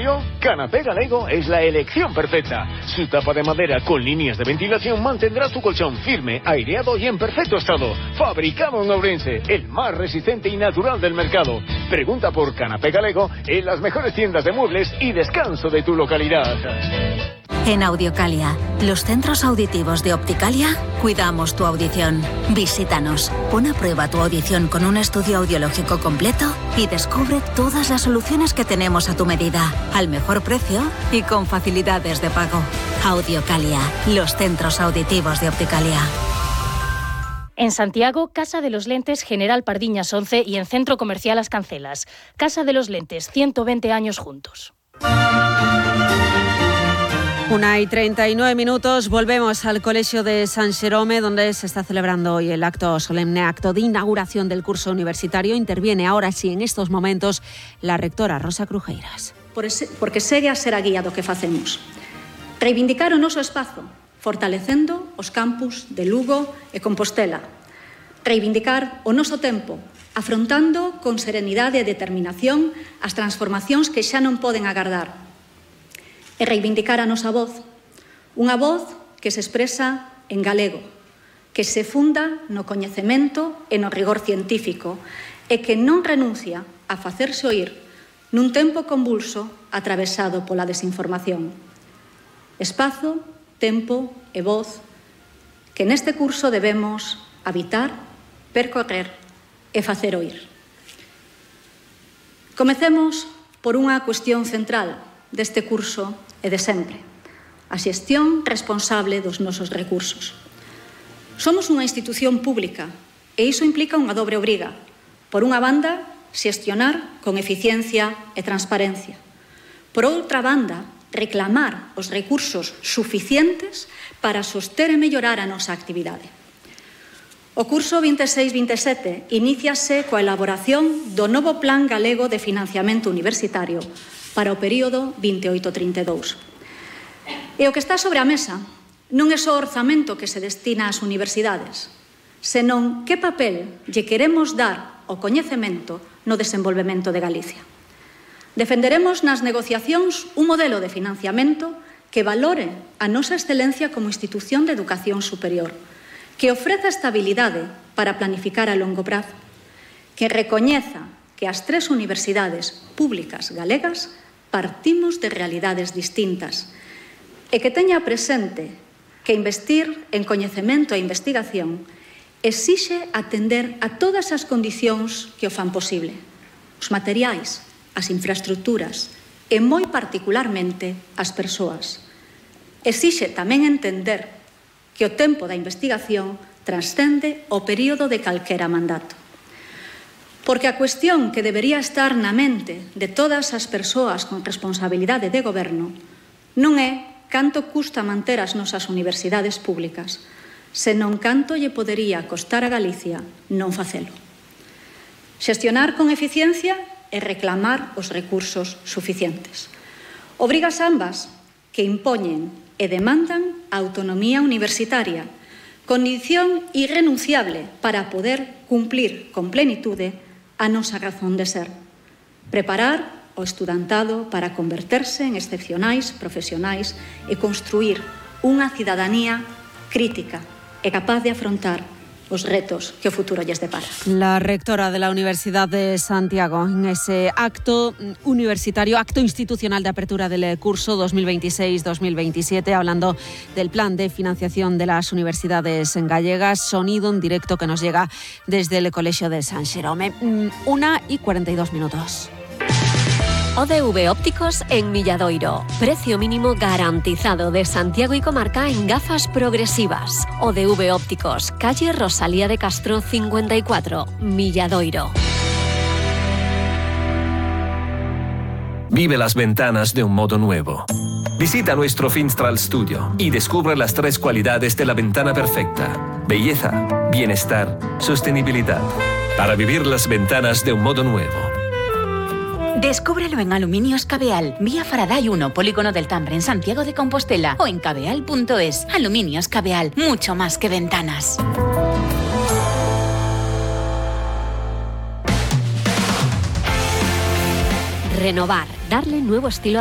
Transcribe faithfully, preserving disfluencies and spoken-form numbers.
frío? Canapé Galego es la elección perfecta. Su tapa de madera con líneas de ventilación mantendrá tu colchón firme, aireado y en perfecto estado. Fabricado en Ourense, el más resistente y natural del mercado. Pregunta por Canapé Galego en las mejores tiendas de muebles y descanso de tu localidad. En Audiocalia, los centros auditivos de Opticalia, cuidamos tu audición. Visítanos, pon a prueba tu audición con un estudio audiológico completo y descubre todas las soluciones que tenemos a tu medida, al mejor precio y con facilidades de pago. Audiocalia, los centros auditivos de Opticalia. En Santiago, Casa de los Lentes General Pardiñas once y en Centro Comercial Las Cancelas. Casa de los Lentes, ciento veinte años juntos. Una y treinta y nueve minutos, volvemos al Colegio de San Xerome, donde se está celebrando hoy el acto solemne, acto de inauguración del curso universitario. Interviene ahora sí, en estos momentos, la rectora Rosa Crujeiras. Porque segue a ser a guía do que facemos. Reivindicar o noso espazo, fortalecendo os campus de Lugo e Compostela. Reivindicar o noso tempo, afrontando con serenidade e determinación as transformacións que xa non poden agardar. E reivindicar a nosa voz, unha voz que se expresa en galego, que se funda no coñecemento e no rigor científico e que non renuncia a facerse oír nun tempo convulso atravesado pola desinformación. Espazo, tempo e voz que neste curso debemos habitar, percorrer e facer oír. Comecemos por unha cuestión central deste curso e de sempre, a xestión responsable dos nosos recursos. Somos unha institución pública e iso implica unha dobre obriga. Por unha banda, xestionar con eficiencia e transparencia. Por outra banda, reclamar os recursos suficientes para soster e mellorar a nosa actividade. O curso vinte e seis vinte e sete iníciase coa elaboración do novo Plan Galego de Financiamento Universitario para o período vinte e oito trinta e dous. E o que está sobre a mesa non é só o orzamento que se destina ás universidades, senón que papel lle queremos dar ao coñecemento no desenvolvemento de Galicia. Defenderemos nas negociacións un modelo de financiamento que valore a nosa excelencia como institución de educación superior, que ofreza estabilidade para planificar a longo prazo, que recoñeza que as tres universidades públicas galegas partimos de realidades distintas e que teña presente que investir en coñecemento e investigación exixe atender a todas as condicións que o fan posible, os materiais, as infraestructuras e moi particularmente as persoas. Exixe tamén entender que o tempo da investigación transcende o período de calquera mandato. Porque a cuestión que debería estar na mente de todas as persoas con responsabilidade de goberno non é canto custa manter as nosas universidades públicas, senón canto lle podería costar a Galicia non facelo. Xestionar con eficiencia e reclamar os recursos suficientes. Obrigas ambas que impoñen e demandan a autonomía universitaria, condición irrenunciable para poder cumplir con plenitude a nosa razón de ser. Preparar o estudantado para converterse en excepcionais profesionais e construir unha cidadanía crítica e capaz de afrontar os retos que o futuro lles depara. La rectora de la Universidad de Santiago en ese acto universitario, acto institucional de apertura del curso dos mil veintiséis dos mil veintisiete, hablando del plan de financiación de las universidades gallegas. Sonido en directo que nos llega desde el Colegio de San Xerome. Una y cuarenta y dos minutos. O D V Ópticos en Milladoiro. Precio mínimo garantizado de Santiago y comarca en gafas progresivas. O D V Ópticos, calle Rosalía de Castro cincuenta y cuatro, Milladoiro. Vive las ventanas de un modo nuevo. Visita nuestro Finstral Studio y descubre las tres cualidades de la ventana perfecta: belleza, bienestar, sostenibilidad. Para vivir las ventanas de un modo nuevo. Descúbrelo en Aluminios Cabeal, vía Faraday uno, Polígono del Tambre, en Santiago de Compostela, o en cabeal punto es. Aluminios Cabeal, mucho más que ventanas. Renovar, darle nuevo estilo a tu